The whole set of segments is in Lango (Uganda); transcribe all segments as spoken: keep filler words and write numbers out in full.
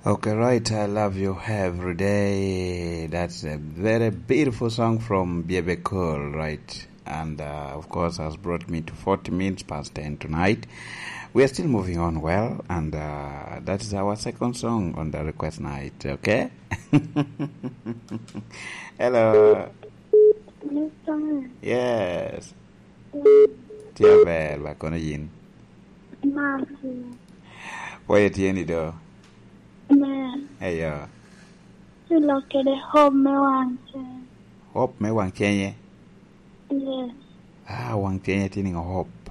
Okay, right. I love you every day. That's a very beautiful song from Bebe Cool, right? And uh, of course, has brought me to forty minutes past ten tonight. We are still moving on well, and uh, that is our second song on the request night, okay? Hello. Yes. Tye aber, ba kono yin. Pwoyo tye ni do. Eyo. Ci lok kede hope me wang cen. Hope me wang cenye? Yes. Ah, wang cenye tye niŋo hope?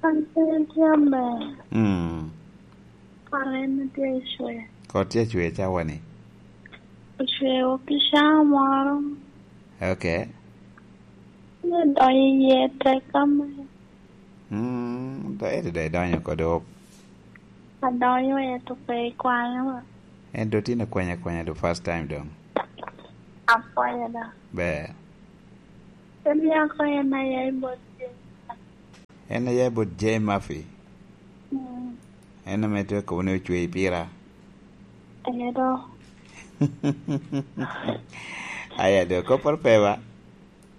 Wang cenye tye aber. Mm. Kore en tye ecwe. Kot tye ecwe cawa ni? Ocweo ki caa moro. Okay. Ni donyo iye tek ame. Mm, do ete do idonyo kodi hope. Adonyo ete pe ikwanyo ba. En do tin akwanya akwanya the first time dong. Apwoyo da. Ber. Emiako en aya i bot Jay. En aya i bot Jay Murphy. Mm. En ame tye kobo ni ocwe i pira. Edo. Aya do kopporo pe ba.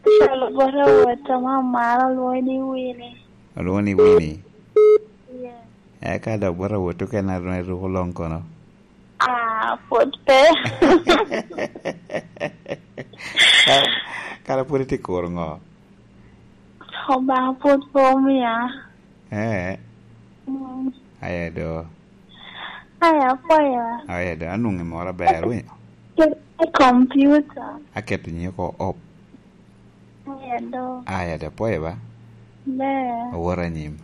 Calo bot awot ame amaro olwoŋo ni Winnie. Olwoŋo ni Winnie? Yes. Eka dok bot awot okene a ruko long kono? Ah, pwod pe. Kara pwod itye kuro ŋo? Obaŋa pwod pe omia. Eh. Mm. Aya do. Aya, apwoyo. Aya do, anwoŋo i moro aber, winyo? Kede i computer. Aketo nyinge oko op. Aya do. Aya do, apwoyo ba? Ber. Owot anyim.